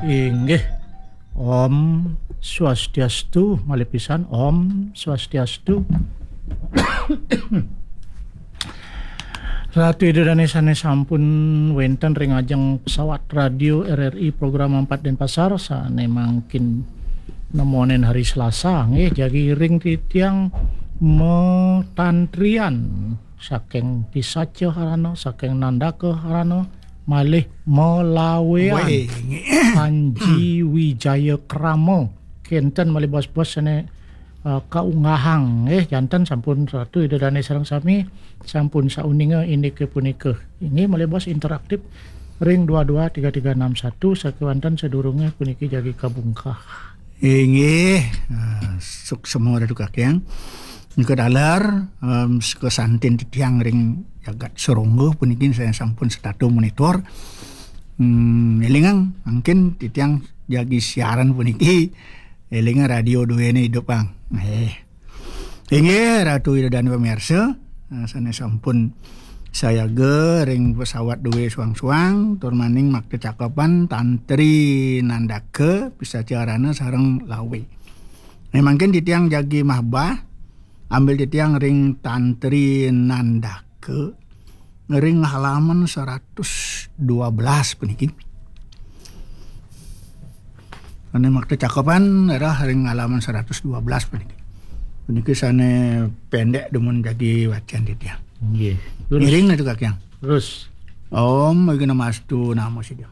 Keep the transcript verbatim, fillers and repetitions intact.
Inggih. Om Swastiastu, malih pisan. Om Swastiastu. Ratu Ida Dane sane sampun wenten ring ajeng pesawat radio R R I program empat Denpasar, sane mangkin nemonin hari Selasa, nggih, jagi ring titiang matantrian saking Pisaca Harana, saking Nandaka Harana, malih malawean. Weh, nggih. Panji Wijaya Krama. Kenten malih bos-bos sane, eh, kaunggahang, nggih, janten sampun Ratu Ida Dane sareng sami, sampun sauninga indike punika. Inggih malih bos interaktif ring dua dua tiga tiga enam satu, sakewanten sadurunge puniki jagi kabungkah. Inggih, eh, suksema Ratu Kakyang. Nika taler, em, seka santin titiang ring jagat Serongga puniki saya sampun setata monitor. Hmm, elingang, mangkin titiang jagi siaran puniki, elingang radio duene idup, Ang. Eh. Inggih, Ratu Ida Dane pamirsa, eh, sane sampun sayaga ring pesawat duwe suang-suang, tur maning makta cakepan Tantri Nandaka, Pisaca Harana sareng Lawe. Nah, mangkin titiang jagi mahbah, ambil titiang ring Tantri Nandaka, ring halaman seratus dua belas puniki. Ane makta cakepan adalah ring halaman seratus dua belas puniki. Puniki sane pendek dumun jagi wacan titiang. Nggih. Terus. Ngiring Ratu Kakyang. Terus. Om Awighnamastu Namo Siddham.